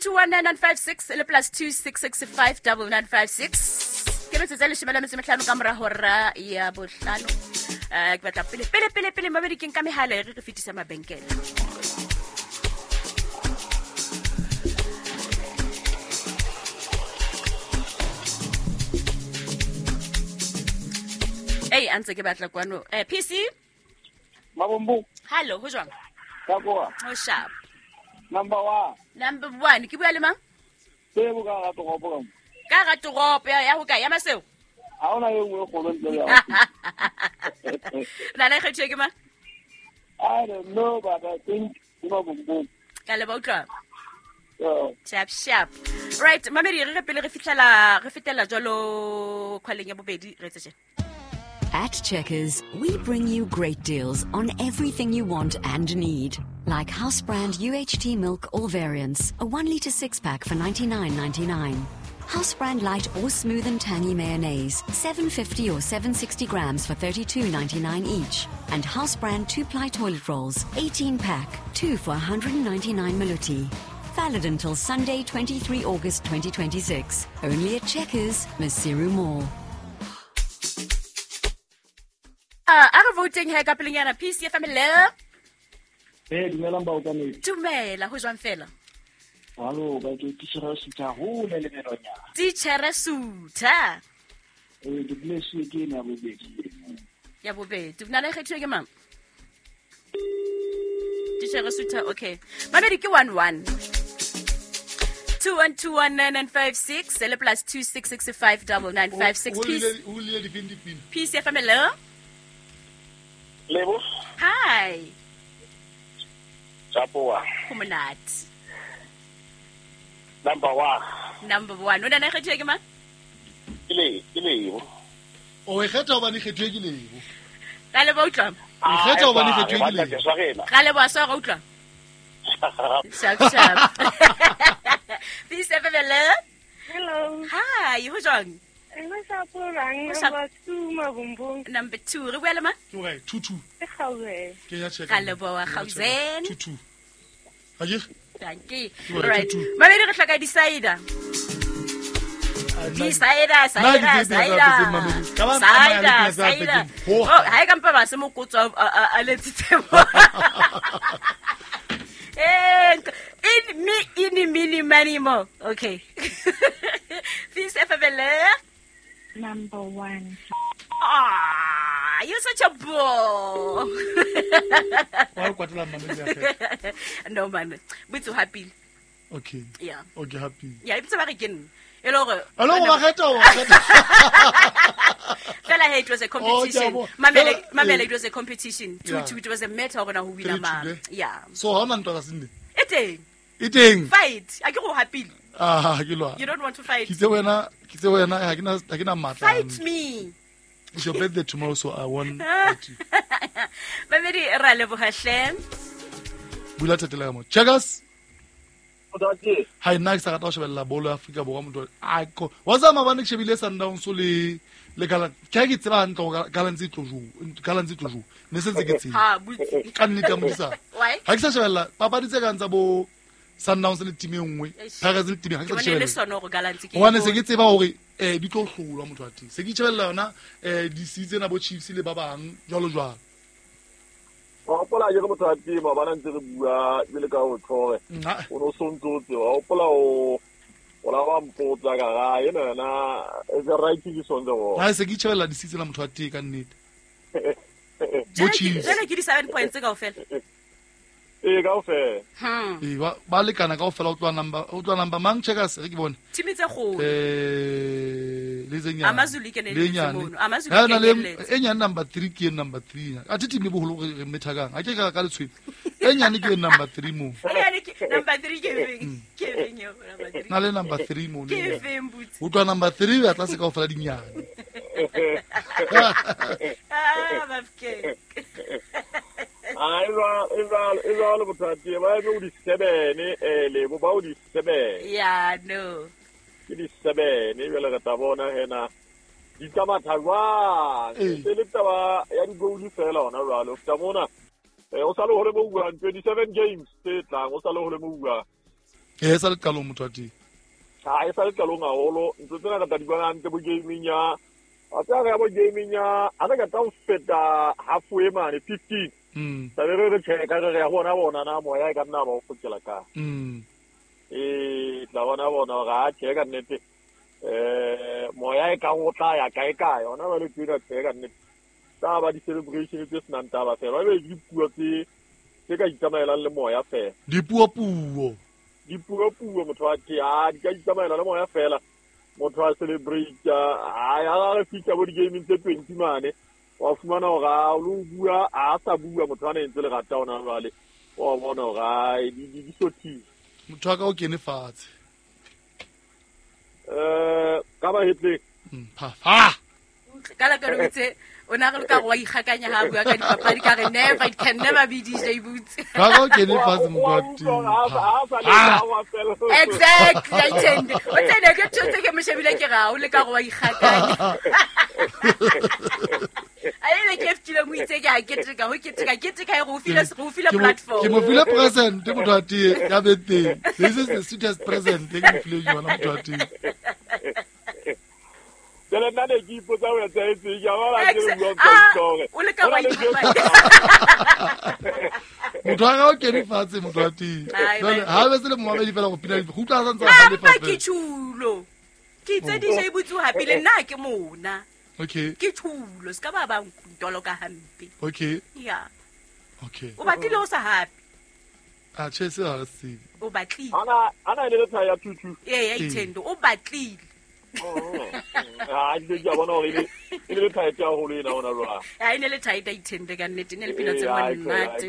2121956 le plus 26659956 ke metsotso e leshome le metso e mehlano ka mora hora ya bohlano. Ke batla pele pele pele pele mabedi ke nka mehala e re re fetisa mabenkele. Ei, a ntse ke batla kwano. PC? Mabombo. Hallo, ho jwang? Ka kwa. Ho sharp. Number 1. Number 1, ke bua le mang? Ke bo ka ga toropo ka mo. Ka ga toropo ya ho kae? Ya Maseo? Ha hona e nngwe e kgolo ntle le ya. Na le kgetho ke mang? I don't know, but I think ke Mabombo. Ka le ba utlwa. Sharp sharp. Right, mamedi re pele re fihlela re fetela jwalo khwaleng ya bobedi re etse tjena. At Checkers, we bring you great deals on everything you want and need. Like house brand UHT milk or variants, a 1 litre 6-pack for $99.99. House brand light or smooth and tangy mayonnaise, 750 or 760 grams for $32.99 each. And house brand 2-ply toilet rolls, 18-pack, 2 for 199 maluti. Valid until Sunday, 23 August 2026. Only at Checkers, Maseru Mall. A re voting he ka pelenyana PC family. Eh, dumelang baokamedi. Dumela, ho jwang fela? Hallo, ba ke titjhere Sutha hole le Melonyana. Titjhere Sutha. Eh, ke bless ke ena ya bobedi. Ya bobedi. Nna le kgethiwe ke mang? Titjhere Sutha, okay. Mamedi ke 11. 2121956 le plus 26659956. O le di feng dipina? PC family. Lebo. Hi. Chapoa. Ho monate. Number 1. Number 1. O na kgethiwe ke mang? Ke Lebo. O e kgetha hobane kgethiwe ke Lebo. Ka lebo utlwa. O kgetha hobane kgethiwe ke Lebo. Ka lebo a swara utlwa. Sharp sharp. Peace family. Hello. Hi, ho jwang? Number 2 Mabombo. Number 2. Re bua le mang? Ke kae? 2 2. Ke Gauzen. Ke ya check. Ka leboha Gauzen. 2 2. Ha ke? Thank you. Right. Mamedi re hloka decider. Decider, decider, decider. Decider. Oh, ha e ka mpa ba se mokotso a letsitse mo. In me in mini many mo. Okay. Peace family. Number 1. Ah, you're such a bore. No man, we're too happy. Okay. Yeah. Okay, happy. Yeah, it's about again. Hello. Fella, it was a competition. Oh, Mamela, it was a competition. 2-2, it was a matter of who win a Yeah. So how many dollars in it? Eating. Fight. I go happy. Ah, you don't want to fight. Fight me. It's your birthday tomorrow, so I won't fight you. Mamedi ra leboha hle. Bula thatela mo. Checkers. Hi nna ke sa rata ho shebella bolo ya Afrika Borwa motho. A ko. Wa tsama mabane ke shebile Sundowns le Gallants. Ke ke tseba hantle hore Gallants e tlo jo. Gallants e tlo jo. Ne se ntse ke tseba. Ha butsi. Ka nnete ya modisa. Why? Ha ke sa shebella papadi tse kang tsa bo Sundowns le team e nngwe. Pirates le team ha ke sa shebella. Hobane se ke tseba hore di tlo hlolwa motho wa teng. Se ke itjhebella yona di tsena bo Chiefs le ba bang jwalo jwalo. Wa hopola ke motho wa teng ba ntse re bua le ka ho tlhore. O no sontse o tseba. Wa hopola o la ba mpotsa ka ga ena yona the right ke sonde go. Ha se ke itjhebella di tsena motho wa teng ka nnete. Bo Chiefs. Jwale ke di 7 points kaofela. Eh kaofela. Eh ba lekana kaofela o tloa number mang Checkers re ke bone. Team tse kgolo. Le tse nyane. Amazulu ke ne le mono. Amazulu ke ne le. E nyane number 3 ke number 3. A team e boholo re methakang. A ke ka letshwele. E nyane ke number 3 mo. E nyane ke number 3 ke feng? Ke feng eo number 3? Na le number 3 mo. Ke feng butsi? O tloa number 3 ya tlase kaofela dinyane. Ah, bafke. Ah, eva motho ba eme o di 7 Lebo ba o di 7. Yeah, no. Ke di 7 jwale re tla bona hena di tsamaya jwang. E le taba ya di goal fela hona jwale. O feta mona o sa le hole mo buang 27 games tse tlang o sa le hole mo buang. E sa le qalong motho wa teng. Ha e sa le qalong haholo, ntho tsena re tla di bona hantle bo gaming ya. A tsa re ya bo gaming ya, a re ka tla ho feta half way mane 15. Tla be re check re ya bona na moya e ka nna ba o fokela ka. Tla bona hore a check ka nnete. Moya e ka go tla ya kae kae ona ba le tsena check ka nnete. Tsa ba di celebration tse senang taba fela. Ba be dipuo tse ka itsamaelang le moya fela. Dipuo puo motho wa ke a di ka itsamaela le moya fela. Motho a celebrate a re fitla bo di-gaming tse 20 mane wa fumana hore a lo bua a sa bua motho a ne ntse le rata ona jwale wa bona hore di sothile motho wa ka o kene fatshe ka ba hetle fa ka la ka re itse o na re ka go ikgakanya ha bua ka dipapadi ka re never it can never be DJ Boots ka go kene fatshe motho wa teng exactly I tend o tsene ke tshotse ke moshebile ke ga o le ka go ikgakanya a ile ke ftile mo itse ke a keteka ho keteka go file platform ke mo file present motho wa teng ya bete this is the sweetest present ke mo file yona motho wa teng Jale nna ne ke ipotsa ho etsa etseng ke a bona ke bua ka tsore o le ka wa motho wa ka o kene fatshe motho wa teng jale ha be se le momamedi fela go pina go utlwa a santse a halefa ke tšhulo ke itse DJ Boots o hapile nna ke mona okay ke tšhulo se ka ba ba ntolo ka hampe okay yeah okay o batlile o sa hape a che se ha se o batlile ana ile le thaya 22 ee ya ithendo o batlile ah ke ja bona hore e le tight ya holo ena ona jwa a ene le tight a ithende ka nnete ne le pina tse monate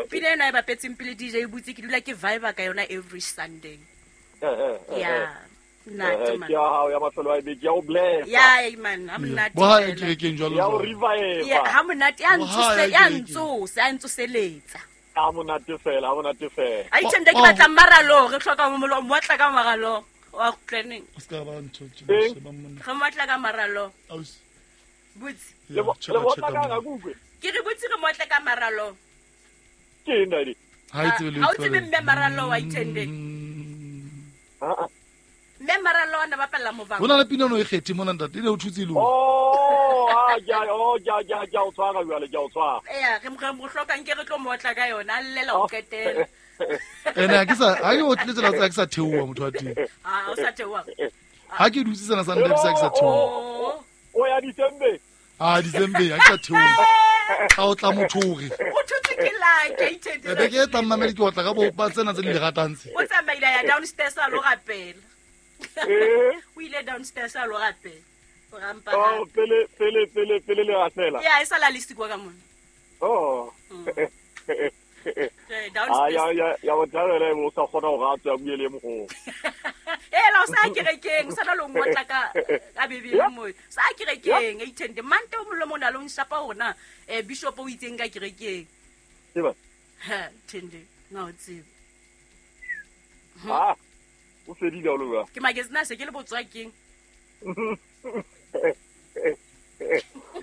pina eno e bapetseng pele DJ Boots ke dula ke vibe ka yona every Sunday yeah nate man ke ya hao ya mafelo a beke ya o bless ya man ha monate bo ha e kerekeng jwalo ya o revive ya ha monate ya ntsose ya ntsosa ya ntsoseletsa a monate fela a ithende ke batla maralo re hloka mo motla ka maralo wa planning o ska ba ntho tse ba monna re motla ka maralo Boots le motla ka ga kukwe ke re Boots re motla ka maralo ke eng dadi ha itse le ha o tsebe mme maralo wa ithende mme maralo ana ba palla movang bona le pina no e kgethe mona ntate ile o thutse ile oh a ja o ja ja ja o tshwara jwale ja o tshwara ee re mo hlokang ke re tlo motla ka yona a llela o qetela ene ha ke sa ha ke o tletse la tsa ke sa theoha motho wa teng ha o sa theoha ha ke dutse sena sa ntate sa ke sa theoha o ya December ah December ha ke sa theoha ha o tla motho hore o thutse ke like ithende be ke tla mmamedi ke otla ka bo ba tsena tse di le ratang tse o tsamaile ya downstairs a lo rapela o ile downstairs a lo rapela o rampa oh pele le ratela ya e sala le sikwa ka mona oh downstairs ya o thabela o sa kgona go ratsa bue le mogolo ela o sa kerekeng o sa lo ngotla ka bebele mo sa kerekeng e ithende mante o molomo na lo nshapa hona bishop o itseng ka kerekeng tseba ha thende na o tsebe ha o fedile o lo ke magazine se ke le botswa keng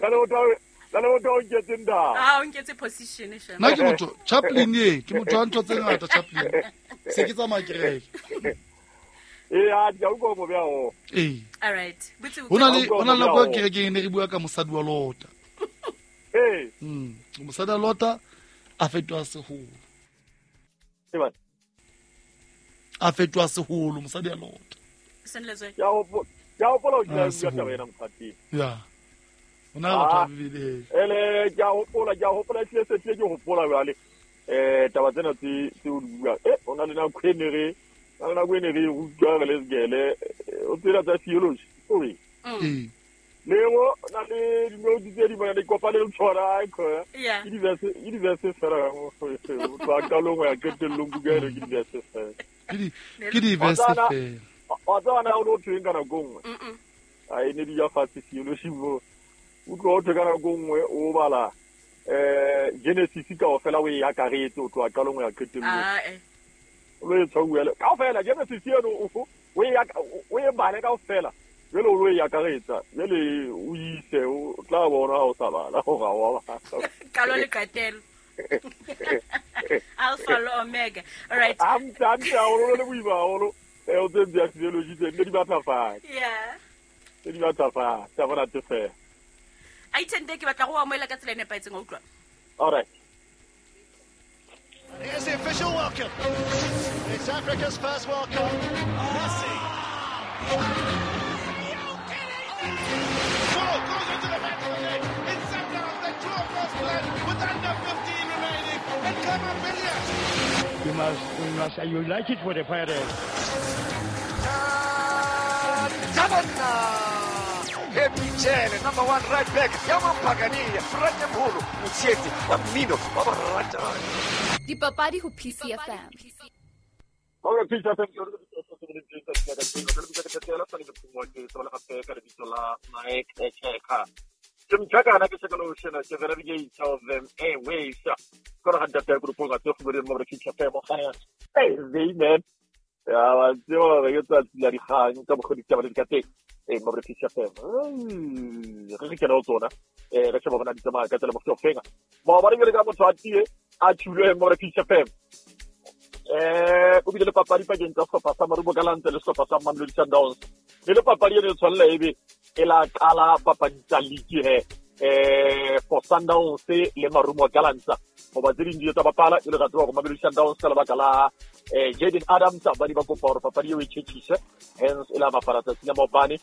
ka le o nketse nda ah o nketse position sha nna ke motho Chaplin ye ke motho wa ntho tse ngata Chaplin se ke tsamaya kereke ee a ke utlwa mo bea o ee all right hona le nako kerekeng ne re bua ka mosadi wa Lota ee mosadi wa Lota a fetoha seholo a fetoha seholo mosadi wa Lota ke a hopola o kile bua taba ena mokgateng ya ona batho ba bibele ele ke a hopola tlile se tlile ke hopola jwale taba tsena tse o di buang ona le nako e ne re rutwa re le sekele o tsela tsa theology ore le go na le dinote tse di bona di kopane le tshwana ke di-verse fela go tloha qalong ho ya qetellong buka eno ke di-verse fela ke di-verse fela wa tseba na o ne o thweng ka nako nngwe a e ne di ja fatshe theology mo o tloha o thwe ka nako nngwe o bala Genesis kaofela o e akaretse o tloha qalong ho ya qetellong o lo e tshwauele kaofela Genesis eno o e bale kaofela jwale o lo e akaretsa jwale o ise o tla bona ha o sa bala hore ha wa bala qalo le qetelo Alpha le omega. All right. Hantle hantle haholo le boima haholo. O tse ntse ya physiology tse nne di batla fatshe. Yeah. Tse di batla fatshe, ha monate fela. Aithente ke batla go amoela ka tsela e nepahetseng, wa utlwa? All right. Here's the official welcome. It's Africa's first World Cup. Messi. Ball goes into the back of the net. It's Sundowns that draw first blood with under 15 remaining. And Khama Billiat. You must, you like it for the Pirates. Happy Jele, number one right back. Yamampagania, Ratemholo, Motshietsi, wa mmino, wa ba ratang. Dipapadi ho PCFM. Hore PCFM ke hore ke lebitso la Mike Echeka. Ke mchakana ke sekolo shena ke the navigator of them airways. Kora ga ntate go ruponga tse go bone mo re PCFM ga ya. Hey, man. Ya ba tseo re ke tsatsi la dikgang ka mokgwa ditaba di ka teng. Mo re PCFM. Re ke kena tsona. Re sheba bona di tsamaya ka tsela mokgwa ofenga. Maobane ke le ka motho a tie a tshulwe mo re PCFM. O bile le papadi pakeng tsa sehlopha sa Marumo Gallants le sehlopha sa Mamelodi Sundowns. Le le papadi eno e tshwanela ebe e la qala papadi tsa league he. For Sundowns le Marumo Gallants. Hoba tse ding di tsa bapala e le ra tseba hore Mamelodi Sundowns ka lebaka la Jaden Adams ba di ba kopa hore papadi eo e tjhetjhise. Hence e la bapala tsatsi la maobane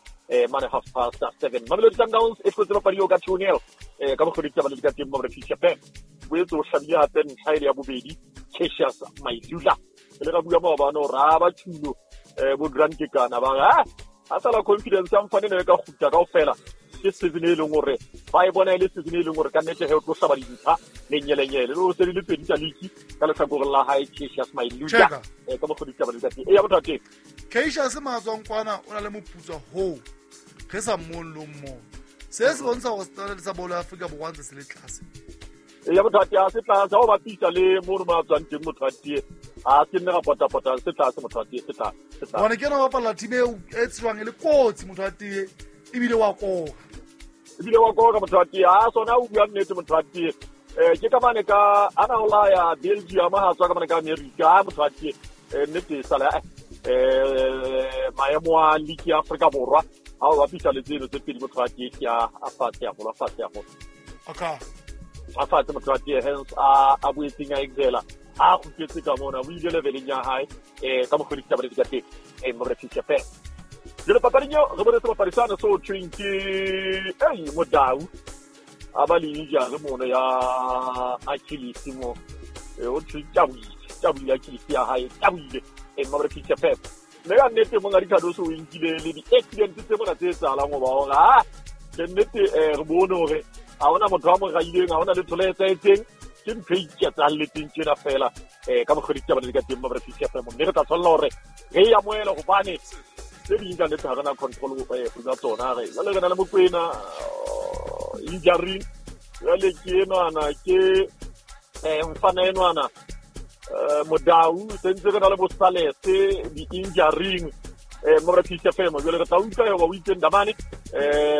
mane 7:30. Mamelodi Sundowns e hlotse papadi eo ka 2-0 ka mokgwa ditaba le di ka teng mo re PCFM. Boetse o hlabile hape ntlha e le ya bobedi Cassius Mailula. Le ra bua maobane hore ha ba tshilo bo Grant Kekana ba re ha sala confidence ya mfane ne ka kgutla kaofela. Ke season e leng hore ba e bona e le season e leng hore ka nnete he o tlo hlaba dintlha lenyelenyele. Le o se le pedi tsa league ka lehlakoreng la hae Cassius Mailula. Ka mokgwa ditaba le ka teng. Eya motho wa teng. Cassius Matswang kwana o na le moputso hoo re sa mmone le o mmone. Se se bontsha hore standard sa bolo ya Afrika Borwa ntse se le tlase. Ya motho wa teng se tlase ha o bapisa le mo re mo tswang teng motho wa teng. A se nne ga potapota se tlase motho wa teng se tlase. Bona ke ena bapala team e tswang e le kotsi motho wa teng ebile wa koka. Ebile wa koka motho wa teng. Ha sona o bua nnete motho wa teng. Ke ka mane ka ana o la ya Belgium ha tswa ka mane ka America ha motho wa teng. Nnete sala maemo a league ya Afrika Borwa ha o bapisa le tseno tse pedi motho wa teng ke a fatshe haholo a fatshe haholo. Okay. A fatshe motho wa teng hence a boetseng a excela a kgutletse ka mona o ile leveleng ya hae ka mokgwa ditaba di ka teng mo re PCFM. Jwale papading eo re bone sebapadi sane se ho thweng ke Modau a ba le injury mono ya Achilles mo o thwe tabuile Achilles ya hae tabuile mo re PCFM. Mme ka nnete monga Ricardo o nkile le di-accident tse mona tse etsahalang hoba hore ha ke nnete re bone hore ha hona motho a mo raileng ha hona letho le etsahetseng ke ntho e iketsahalletseng tjena fela ka mokgwa ditaba di ka teng mo re PCFM. Mme re tla tshwanela hore re e amohele hobane tse ding ka nnete ha re na control hodima tsona. Re jwale re na le Mokwena injury jwale ke enwana ke mfana enwana Modau sentse re na le bo Salese di-injuring mo re PCFM. Jwale re tla utlwa hore o itse Ndamane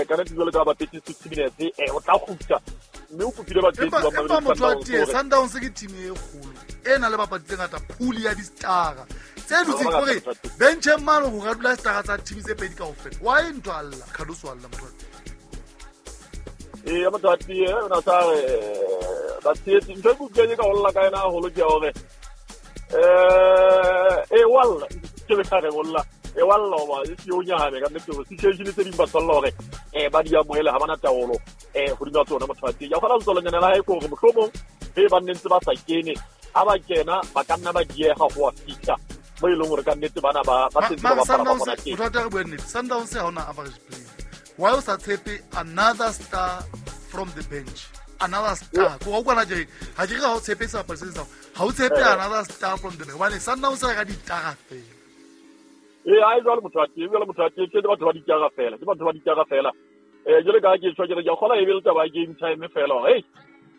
ka nnete jwale ka bapetse 60 minutes o tla kgutla mme o kopile batshehetsi ba Mamelodi Sundowns. Sundowns ke team e kgolo e nang le bapadi tse ngata, pool ya di-star tse dutseng hore bencheng mane ho ka dula star tsa team tse pedi kaofela. Why ntho a lla Cardoso a lla motho wa teng? Ya motho wa teng o na sa re batshehetsi ntho e ke utlwileng ka ho lla ka yena haholo ke ya hore walla ke be ka re ho lla walla hoba e se o nyahame ka nnete hore situation tse ding ba tshwanela hore ba di amohele ha bana taolo hodima tsona motho wa teng. Ya kgona letsolonyana la hae ke hore mohlomong be ba nne ntse ba sa kene ha ba kena ba ka nna ba dieha ho wa fihla mo e leng hore ka nnete bana ba sentse ba bapala ba bona teng. Motho wa teng re bue nnete, Sundowns ha hona average player. Why o sa tshepe another star from the bench? Another star. Ko utlwa je ha ke re ha o tshepe sebapadi se seng, ha o tshepe another star from the bench. Hobane Sundowns re ka ditara fela. Ha e jwale motho wa teng, jwale motho wa teng ke batho ba ditara fela, ke batho ba ditara fela. Jwale ka ke tshwa ke re ke kgola e be le taba ya game time fela hore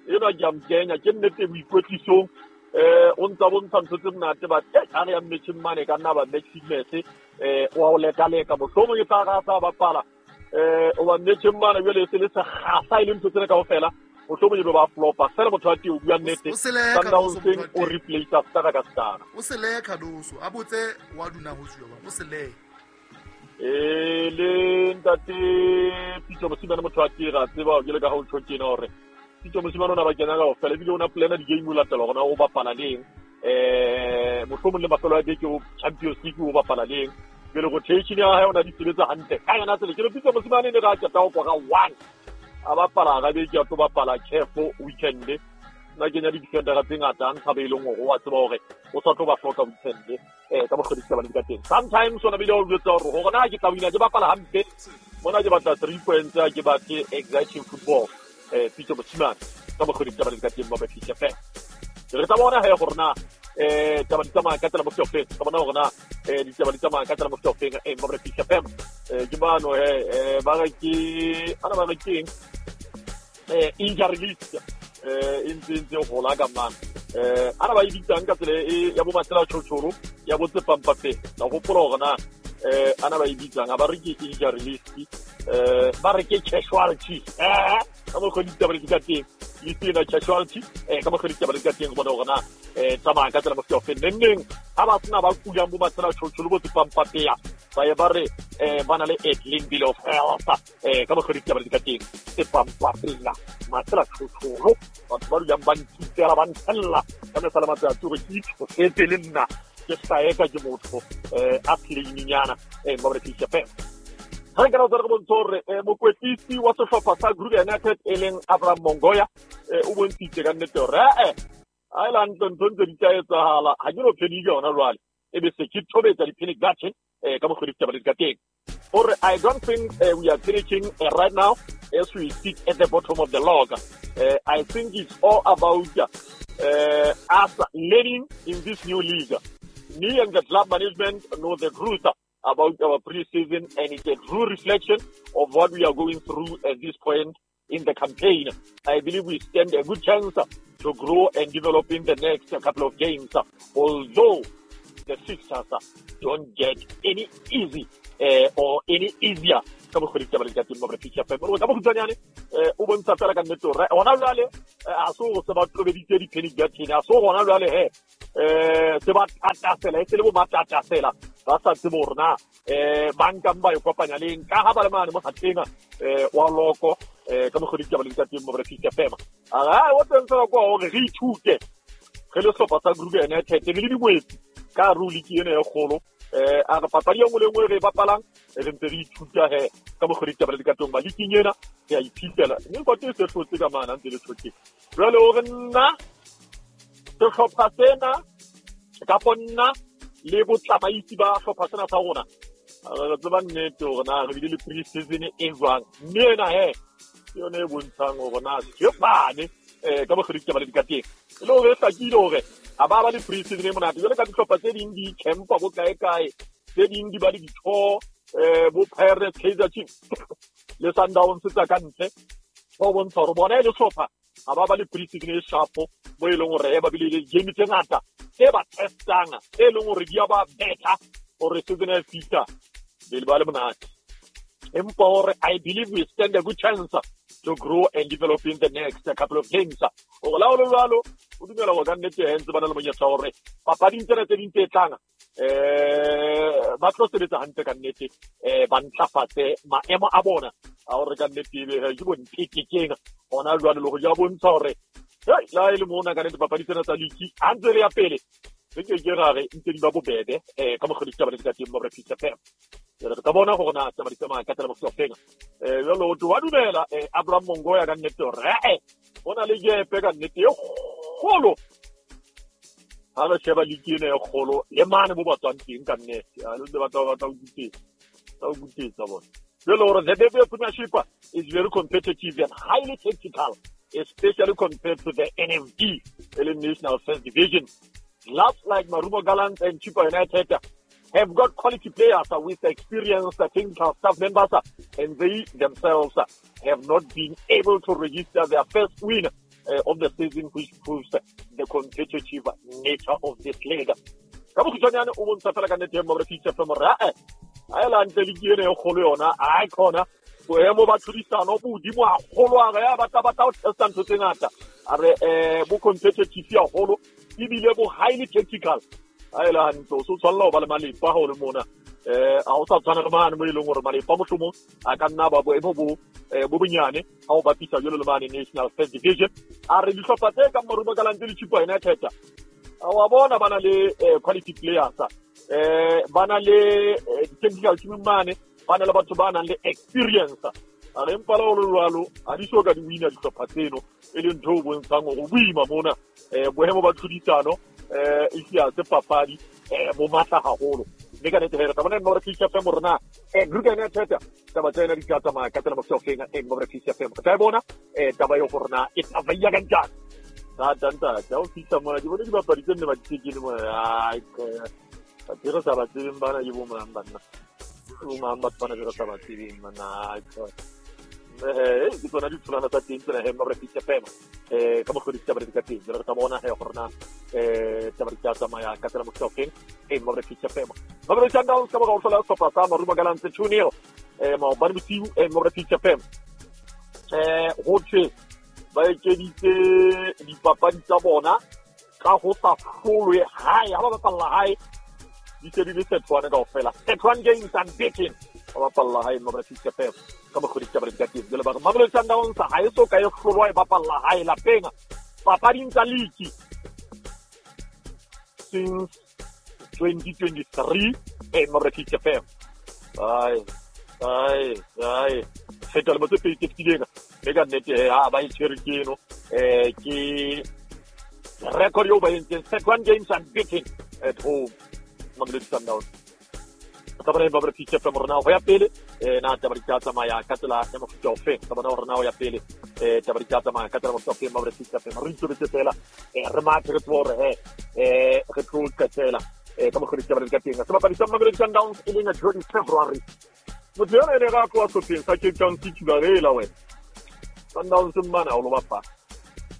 enwa ke a mo kenya ke nnete boikwetlisong o ntsa bontsha ntho tse monate but ha re ya matcheng mane ka nna ba match fitness o a o lekaleka mohlomong e tla ra sa bapala o ba matcheng mane jwale se le sekgahla e le ntho tsena kaofela Mohlomong e be ba flopa fela motho wa teng o bua nnete Sundowns o replace star ka star o sele Cardoso a botse wa duna ho tswa o sele le ntate Pitso Mosimane motho wa teng ra tseba ke le ka ha o tjho tjena hore Pitso Mosimane o na ba kena ka ofela ebile o na plana di-game o latela hore na o bapala leng mohlomong le mafelo a beke o Champions League o bapala leng pele rotation ya hae o na di sebetsa hantle ka yona tsela ke le Pitso Mosimane ne ra qeta ho kora 1 a bapala ga beke a tlo bapala CAF weekend nna kenya di-defendera tse ngata a ntsha be e leng hore wa tseba hore o sa tlo ba hloka weekend ka mokgwa ditaba di ka teng. Sometimes ona bile o jwetsa hore hore na ke tla wina ke bapala hampe mona ke batla 3 points a ke batle exciting football Pitso Mosimane ka mokgwa ditaba di ka teng ba Peace FM. Re tla bona he gore na taba di tsamaya ka tsela mo seofeng ka bona gore na ditaba di tsamaya ka tsela mo seofeng ba Peace FM ke bano he ba re ke ana ba re keng injury list e ntse gola ka mana ana ba e bitsang ka tsela e ya bo Matsela Tjhotjhoro ya bo Tsepampape la gopola gore na ana ba e bitsang ba re ke injury list ba re ke casualty ka mokgwa ditaba di ka teng list ena casualty ka mokgwa ditaba di ka teng go bona gore na tsamaya ka tsela mo seofeng neng ha ba sena ba kulang bo Matsela Tjhotjhoro bo Tsepampapea ba ye ba re ba na le a clean bill of health ka mokgwa ditaba di ka teng Tsepampapea Matsela Tjhotjhoro batho ba dulang ba nkitsela ba ntshella ka mehla le matsatsi hore ke itshosetse le nna ke hlaeka ke motho a playing-nyana ba re Peace FM. Ha re ka re bontsha hore mokwetlisi wa sehlopha sa Kruger United e leng Abraham Mongoya o bontshitse ka nnete hore a e la ntho ntse di tla etsahala ha ke no phedike hona jwale e be se ke thobetsa di-panic button ka mokgwa ditaba di ka teng. Or I don't think we are panicking right now as we sit at the bottom of the log. I think it's all about us learning in this new league. Me and the club management know the truth about our pre-season, and it's a true reflection of what we are going through at this point in the campaign. I believe we stand a good chance to grow and develop in the next couple of games, although the fixtures don't get any easy or any easier. Ka mokgwa ditaba di ka teng mo Peace FM. Ka bokhutswanyane o bontsha fela ka nnete hore hona jwale a so se ba tobeditse di-panic button a so hona jwale he se ba tatasela e se le bo matatasela ba sa tsebe hore na ba nkang ba e kopanya leng ka ha ba le mane mo gateng wa loko ka mokgwa ditaba di ka teng mo Peace FM. A o teng fela kwa hore re ithute re le sehlopha sa Kruger United re le dingwetsi ka re o league ena e kgolo a re papadi e nngwe le nngwe re e bapalang re ntse re ithuta he ka mokgwa ditaba di ka teng ba league ena re a iphihlela mme kote e se hlotse ka mana ntse le hlotse jwale hore nna sehlopha sena kapo nna le botsamaisi ba hlopha sena sa rona re tseba nnete hore na re bile le pre-season e jwang mme ena he ke yone e bontshang hore na tshepane ka mokgwa ditaba di ka teng e le hore e hlakile hore ha ba ba le pre-season e monate jwale ka dihlopha tse ding di campa bo kae kae tse ding di ba le ditho bo Pirates, Kaizer Chiefs le Sundowns tsa ka ntle ho bontsha hore bona e le hlopha ha ba ba le pre-season e sharp bo e leng hore ba bile le game tse ngata tse ba testang e leng hore di a ba better hore season e fihla be ba le monate. Empa hore I believe we stand a good chance to grow and develop in the next couple of games. Hore la ho le jwalo o dumela hore ka nnete he ntse ba na le monyetla hore papading tsena tse ding tse tlang ba tlo sebetsa hantle ka nnete ba ntlafatse maemo a bona a hore ka nnete ebe ke bo ntekekeng hona jwale le ho ja bontsha hore la e le mona ka nnete papadi tsena tsa league ha ntse re ya pele re ke ke ra re ntse di ba bobebe ka mokgwa ditaba di ka teng ba Peace FM. Re ka bona gore na taba di tsamaya ka tsela mo seofeng jalo o wa dumela Abraham Mongoya ka nnete hore ho na le gepe ka nnete e kgolo ha re sheba league ena e kgolo le mane mo ba tswang teng ka nnete a le batla ba tla o kutetsa bona jalo hore the Betway Premiership is very competitive and highly tactical, especially compared to the NFD, the National First Division. Clubs like Marumo Gallants and Chippa United have got quality players with experienced technical staff members, and they themselves have not been able to register their first win of the season, which proves the competitive nature of this league. Ka bokhutswanyane o bontsha fela ka nnete mo re Peace FM hore a e la ntle league ena e kgolo yona a khona Boemo ba tlhodisano bo hodimo haholo, a re ya batla ho testa ntho tse ngata. A re bo competitive haholo ebile bo highly tactical. Ha e le hantle o so tshwanela ho ba le malepa ha o le mona. Ha o sa tshwana le mane mo e leng hore malepa mohlomong a ka nna ba boemo bo bo bonyane ha o bapisa jwalo le mane National First Division. A re dihlopha tse kang Marumo Gallants le Chippa United wa bona ba na le quality players, ba na le technical team mane, ba na le batho ba nang le experience. A re empa le ho le jwalo ha di so ka di wina dihlopha tseno, e leng ntho e bontshang hore boima mona. Boemo ba tlhodisano e sia se papadi bo matla haholo. Mme ka nnete re tla bona Mmabre Fish FM rona Kruger United taba tsa yona di tla tsamaya ka tsela mofsofeng Mmabre Fish FM. Re tla e bona taba eo gore na e tsamaya ka njani. Thata ntate, ha o fihla mona ke bone dibapadi tse nne ba di tekele mona. Ai, batho re sa ba tsebeng bana ke bo mang banna? Ke bo mang batho bana be re sa ba tsebeng banna? Ai, ke tsona ditholwana tsa teng tsena he Mmabre Fish FM. Ka mokgwa ditaba di ka teng. Jwale re tla bona he gore na taba di tla tsamaya ka tsela mofsofeng Mmabre Fish FM. Mamelodi Sundowns ka mora ho hlola sehlopha sa Marumo Gallants 2-0 maobane bosiu Mmabre Fish FM. Ho thwe ba ekeditse dipapadi tsa bona ka ho sa hlolwe hae. Ha ba bapalla hae di se di le sethwane kaofela. 31 games unbeaten ba bapalla hae Mmabre Fish FM ka mokgwa ditaba di ka teng. Jwale ba re Mamelodi Sundowns ha e so ka e hlolwa e bapalla hae lapeng papading tsa league since 2023 Mmabre Fish FM. Ai ai ai feta le motse pedi tse fetileng. Mme ka nnete ha ba e tshwere ke eno ke record eo ba entseng 31 games unbeaten at home Mamelodi Sundowns. Tla bona Mmabre Fish FM rona ho ya pele na taba di tla tsamaya ka tsela ya mofuta ofe. Tla bona hore na ho ya pele taba di tla tsamaya ka tsela mofuta ofe Mmabre Fish FM. Re itobetse fela re mathe re tsebe hore he re tlo qetela ka mokgwa ditaba di ka teng. Sebapadi sa Mamelodi Sundowns e leng Jody February. Motho yona e ne ra tloha sehlopheng sa Cape Town City ba rela wena. Sundowns mmana o lo bapala.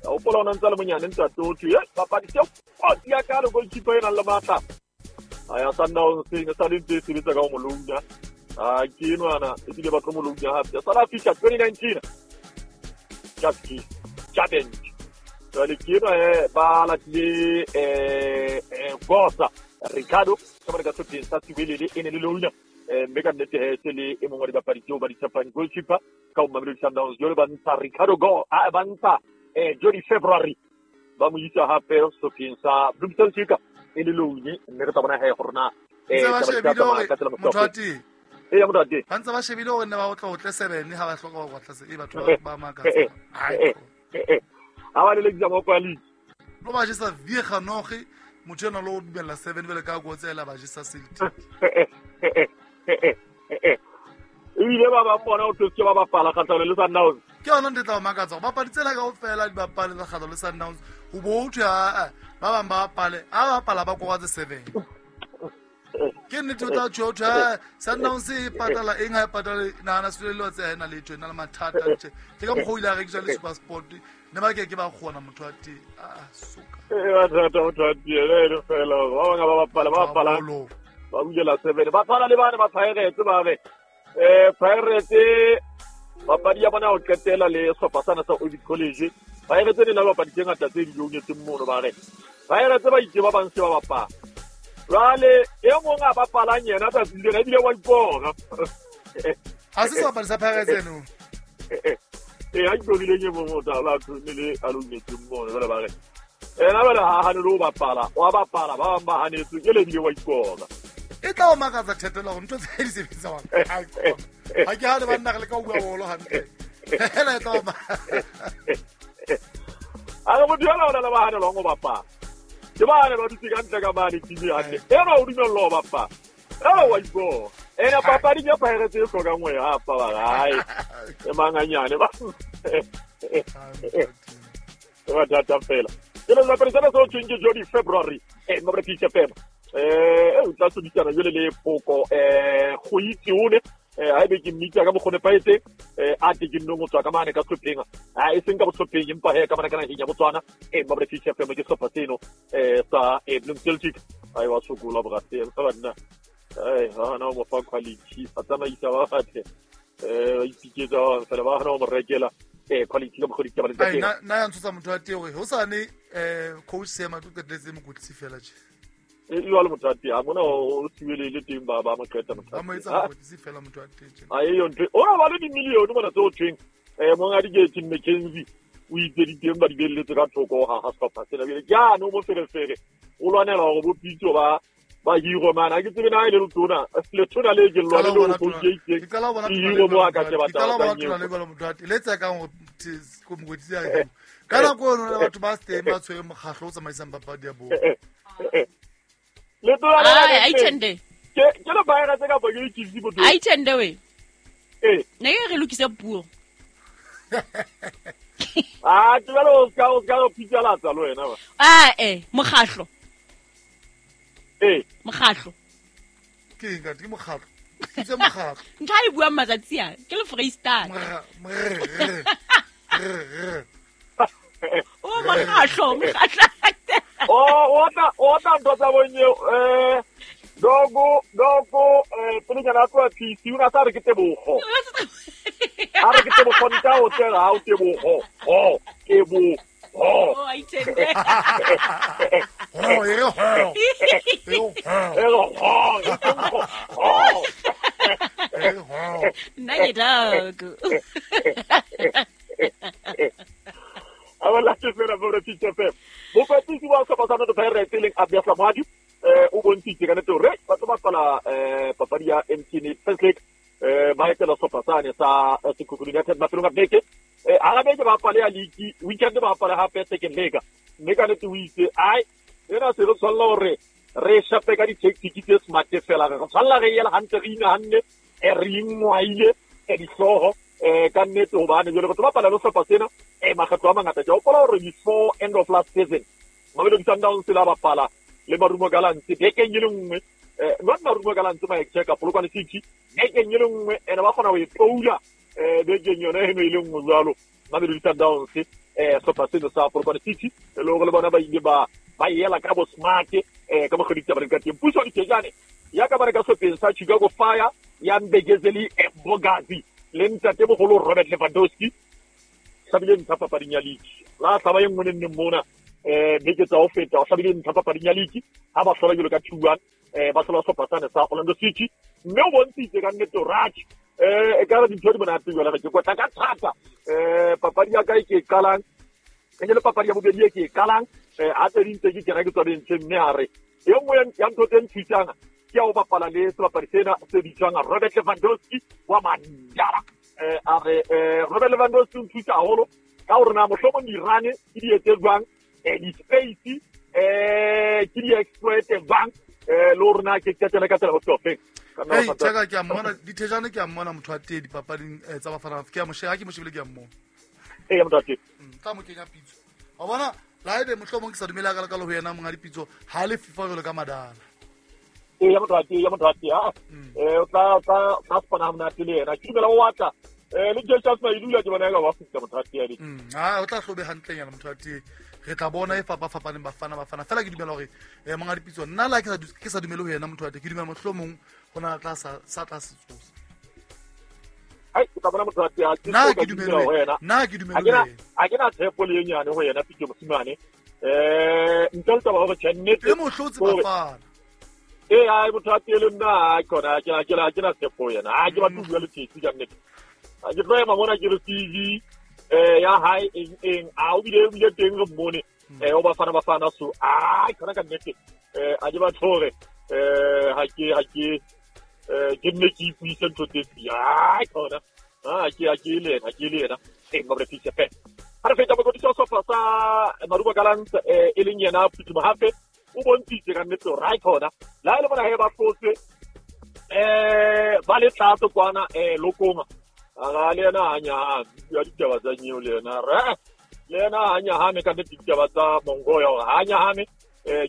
O hopola o na ntse a le monyane ntate o thwe, papadi tse kotsi ya ka le goalkeeper e nang le matla. A ya Sundowns e sa le ntse e sebetsa ka ho molouna. A ke enwana ebile ba tlo molouna hape. South Africa 2019. Just challenge. Jwale ke enwa ba latile Gosa Ricardo ka mane ka sehlopheng sa Siwelele e ne le louna. Mme ka nnete he se le e mongwe wa dibapadi tseo ba di tshepang goalkeeper ka ho Mamelodi Sundowns. Jwale ba ntsha Ricardo Go, ba ntsha Jody February ba mo isa hape sehlopheng sa Bloem Celtic e le loune. Mme re tla bona he gore na motho wa teng. Eya motho wa teng. Ba ntse ba shebile hore ne ba otla otle 7 ha ba hloka ho batla se batho ba makatsa. Ha ba lelekisa moko ya league. Lo ba jesa viega noge motho ena lo dumella 7 bele ka go tsela ba jesa Celtic. Ebile ba bang bona o thotse ba bapala kgatlhanong le Sundowns. Ke yona ntho e tla o makatsa gore bapadi tsela kaofela di bapale tsa kgatlhanong le Sundowns ho bo ho thwe ba bang ba bapale a ba bapala ba kora tse 7. Ke nnete o tla tjho ho thwe Sundowns e patala eng ha e patale nahana Siwelele tse ha ena letho e na le mathata tje. Ke ka mokgwa o ile a rekiswa le SuperSport ne ba ke ke ba kgona motho wa teng. Soka. Mathata motho wa teng e fela ba bang ba bapala ba bapala ba bulela 7 ba tshwana le bane ba Pirates ba re Pirates papadi ya bona ho qetela le sehlopha sana sa Orbit College. Pirates ne na le bapadi tse ngata tse di lounetseng mono ba re Pirates ba itse ba bang se ba bapala. Jwale e mong a bapalang yena tsatsi lena ebile wa ipona. Ha se sebapadi sa Pirates eno. Ha ikorileng e mong o tla ba le a lounetseng mono jwale ba re ena jwale ha hane le ho bapala wa bapala ba bang ba hanetswe ke le ebile wa ipona. E tla o makatsa thetela hore ntho tse di sebetsang. Ha ke ha le banna re le ka bua bolo hantle. Hela e tla o A re motho yona o na le ba hanelwang ho bapala. Ke ba hanelwa dutse ka ntle ka mane TV hantle. Ena o dumellwa ho bapala. Ena wa ipona. Ena papading ya Pirates e hlokang ho e hapa ba re hai. E manganyane ba. E mathata fela. Ke le sebapadi sena se ho thweng ke Jody February Mmabre Fish FM. O tla sodisana jwale le Poko go itse one ha ebe ke mmitsa ka mokgwa o nepahetseng a te ke nnong ho tswa ka mane ka sehlopheng e seng ka bohlopheng empa he ka mane ka naheng ya Botswana Mmabre Fish FM ke sehlopha seno sa Bloem Celtic. Ai wa sokola borate ba banna. Ai ha na mo fa quality a tsamaisa ba batle. Ba ipiketsa fela ba hana ho mo rekela quality ka mokgwa ditaba le tsa teng. Nna ya ntshosa motho wa teng hore hosane coach Seema tlo qetelletse mokwetlisi fela tje. Jwale motho wa teng ha mona o siwelele teng ba mo qeta motho. Ba mo etsa mokwetlisi fela motho wa teng tje. A eyo ntho. Ona ba le dimilione mona tse o thweng monga di Tim McKenzie o itse di teng ba di belletse ka thoko ha ha sehlopha sena. Bjale ke ano mo ferefere o lwanela hore bo Pitso ba hiro mana ke tsebe na ile letona letona le ke lwana le o ke hiro mo a ka tseba taba le bala motho a le tsa ka go mokwetlisi a ka nako eno le batho ba steng ba tshwere mokgahlo o tsamaisang papadi ya bolo letona le ai tende ke le baera tse ka ba ke itse botho ai tende we ne ke re lokise puo a ke ba lo ka o ka pitsa la tsa lo wena ba mokgahlo mokgahlo ke eng ka ke mokgahlo ke mokgahlo ntho a e buang matsatsi a ke le Freestyle o mokgahlo o tla ntho tsa bonye dogo pelenyana tloa PC o na sa re ke tebogo a re ke tebogo nta o tsela ha o tebogo ho tebogo Oh, I tende. Oh, Nna ke dog. A la ke fela bo re pitse fe. Mokwetlisi wa sehlopha sa Orlando Pirates e leng Abia Samadi o bontshitse ka nnete hore ba tlo bapala papadi ya MTN First League ba etela sehlopha sane sa Sekhukhune United mafelong a beke. Hara beke ba bapale ya league, weekend ba bapale hape second leg. Mme ka nnete o itse ai ena se re tshwanela hore re shape ka di-tactic tse smart fela re tshwanela re yela hantle re inahanne re ingwaile dihlooho ka nnete hobane jwale re tlo bapala le sehlopha sena makgetlo a mangata. Ke hopola hore before end of last season Mamelodi Sundowns la bapala le Marumo Gallants bekeng e le nngwe not Marumo Gallants Mike Polokwane City bekeng e le nngwe ene ba kgona ho e toula bekeng yona eno e le nngwe jwalo Mamelodi Sundowns sehlopha seno sa Polokwane City e le hore le bona ba ile ba yela ka bo smart ka mokgwa ditaba ka teng. Puso Dithejane ya ka ba re ka sehlopheng sa Chicago Fire ya Mbekezeli Mbogazi le ntate mogolo Robert Lewandowski hlabile ntlha papading ya league la hlaba e nngwe le nne mona beke tsa ho feta o hlabile ntlha papading ya league ha ba hlola jwalo ka 2-1 ba hlola sehlopha sane sa Orlando City mme o bontshitse ka nnete hore e ka re dintho di monate jwale ke kwetla ka thata papadi ya ka e ke e qalang e le papadi ya bobedi e ke e qalang ha tse ding tse ke kena ke tswa bentshe mme a re e nngwe ya ntho tse nthusang ke ya ho bapala le sebapadi sena se bitswang Robert Lewandowski wa Mandala. A re Robert Lewandowski o nthusa haholo ka hore na mohlomong di-run ke di etse jwang di-space ke di-exploit jwang le hore na ke qetele ka tsela ho hlopeng. Hey, Chaka ke a mmona Dithejane ke a mmona motho wa teng dipapading tsa Bafana ke a mo sheba ha ke mo shebile ke a mmona. Ee motho wa teng. Tla mo kenya pitso. Wa bona la ebe mohlomong ke sa dumela ka le ho yena monga dipitso ha le FIFA jwalo ka Madala. Ee motho wa teng o tla spana ha monate le yena ke dumela o batla le Joseph Mailula ke bona ka ba fihla motho wa teng. O tla hlobe hantlenyana motho wa teng. Re tla bona e fapafapaneng Bafana fela ke dumela hore monga dipitso nna la ke sa dumele ho yena motho wa teng ke dumela mohlomong ho na tla sa tla se tsosa. Ai ke tla bona motho wa teng nna ke dumele ho yena nna ke dumele ho yena a ke na tshepo le nyane ho yena Pitso Mosimane ntle le taba hore tjhe e mo hlotse Bafana. Ai motho wa teng le nna khona ke na tshepo ho yena a ke batho bua le tsetsi ka nnete a ke tlo ema mona ke re CV ya hae eng a o bile teng re mmone o Bafana so ai khona ka nnete a ke batho hore ha ke ke nne ke ipuise ntho tse ai khona a ke le yena e ba re fitse fe ha re feta mokwetlisi wa sehlopha sa Marumo Gallants e leng yena Phuthi Mohafe o bontshitse ka nnete hore ai khona la e le bona he ba hlotse ba le tlatso kwana lokong a le yena a nyahame ya ditaba tsa nyeo le yena re le yena a nyahame ka nnete ditaba tsa Mongoya hore ha nyahame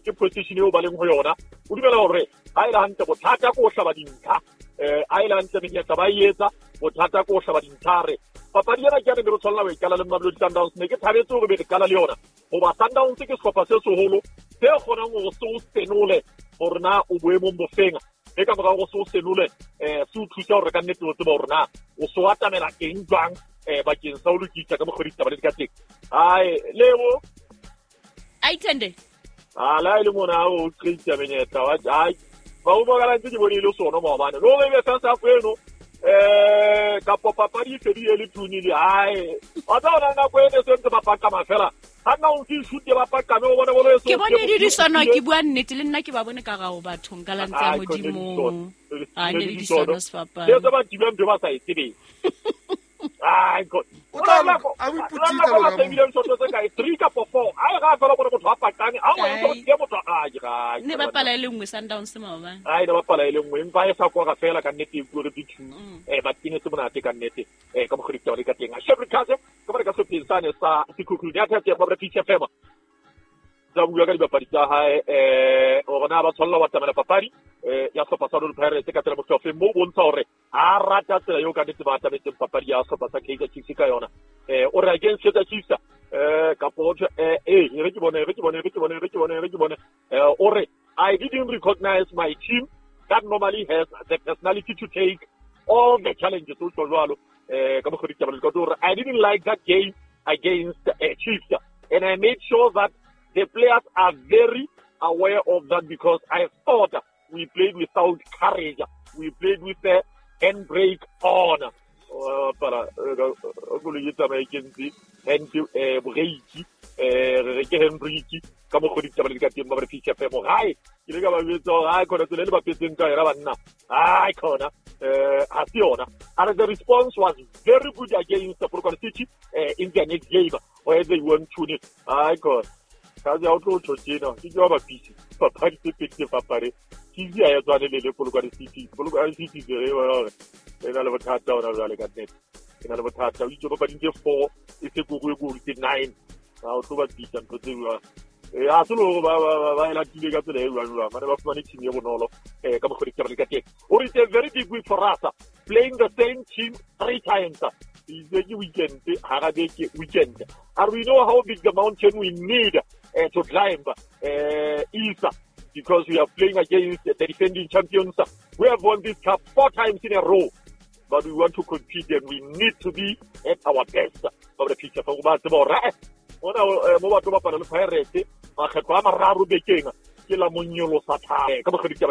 ke position eo ba leng ho yona o dumela hore ha e le hantle bothata ko hlaba dintlha ha e le hantle menyetla ba e etsa bothata ko hlaba dintlha re papadi ena ke ya ne re tshwanela ho e qala le Mamelodi Sundowns ne ke thabetse hore be re qala le yona hoba Sundowns ke sehlopha se seholo se kgonang hore se o senole hore na o boemong bofeng E ka mora go se o senole se o thusa hore ka nnete o tseba hore na o so atamela eng jwang bakeng sa ho lokisa ka mokgwa ditaba le di ka teng. Ai lebo Aithende a la ile mona o qeita menyetla wa ai ba o bokala ntse ke bone ile sona maobane lo be sa sa kweno ka papadi e fedile le 2-0 ai wa tsona nako e ne se ntse ba pakama fela ha nna o ke shoot ba pakame o bone bolo e so ke bone di disono ke bua nnete le nna ke ba bone ka gao bathong ka lantse ya modimo a ne di disono sefapano le tsa ba tibang ba sa e tsebeng ai god o tla a o iputitse lo ga bile ntho tse kae 3 kapa 4 ai ga fela bone motho a pakane a o ntse ke motho a ga ne ba pala ile nngwe Sundowns maobane ai ne ba pala ile nngwe empa e sa kwara fela ka nnete e bua re 2 ba tine se monate ka nnete ka mokgwa ditaba le ka teng a Shepherd Kaze ka ba ka se sane sa Sekhukhune ya thathe ba Peace FM tsa bua ka dibapadi tsa hae hore na ba tshwanela wa tamela papadi ya sehlopha sa Orlando Pirates ka tsela mohlofeng mo bontsha hore ha rata tsela eo ka nnete ba atametseng papadi ya sehlopha sa Kaizer Chiefs ka yona o re against Kaizer Chiefs kapo re ke bone o re I didn't recognize my team that normally has the personality to take all the challenges o tlo jwalo ka mokgwa ditaba le ka hore I didn't like that game against Chiefs and I made sure that the players are very aware of that because I thought we played without courage. We played with the handbrake on. Para koloi e tsamaye ke ntse handbrake re ke handbrake ka mokgwa ditaba le ka teng ba re Peace FM gae ke le ka ba jwetsa hore ai khona tsela le ba petseng ka yona banna ai khona ha se yona. And the response was very good against the Polokwane City in the next game where they won 2-0. Ai khona ka ja o tlo tjena ke jwa ba Peace papadi tse pedi tse fapane Chiefs ya e tswane le Polokwane City Polokwane City re hore e na le bothata ona jwale ka nnete e na le bothata o itse papading tse 4 e se go go tse 9 ha o tlo ba bitsa ntho tse jwang a se le ba e latile ka tsela e jwang jwang mane ba fumane team e bonolo ka mokgwa ditaba le ka teng. O re it's a very big week for us playing the same team 3 times. It's a weekend hara beke weekend and we know how big the mountain we need to climb is because we are playing against the defending champions. We have won this cup 4 times in a row, but we want to compete and we need to be at our best. Ba re picture fa go ba tseba hore ona mo batho ba pala le Pirates makgetlo a mararo bekeng ke la monyolo sa thabo ka mokgwa ditaba.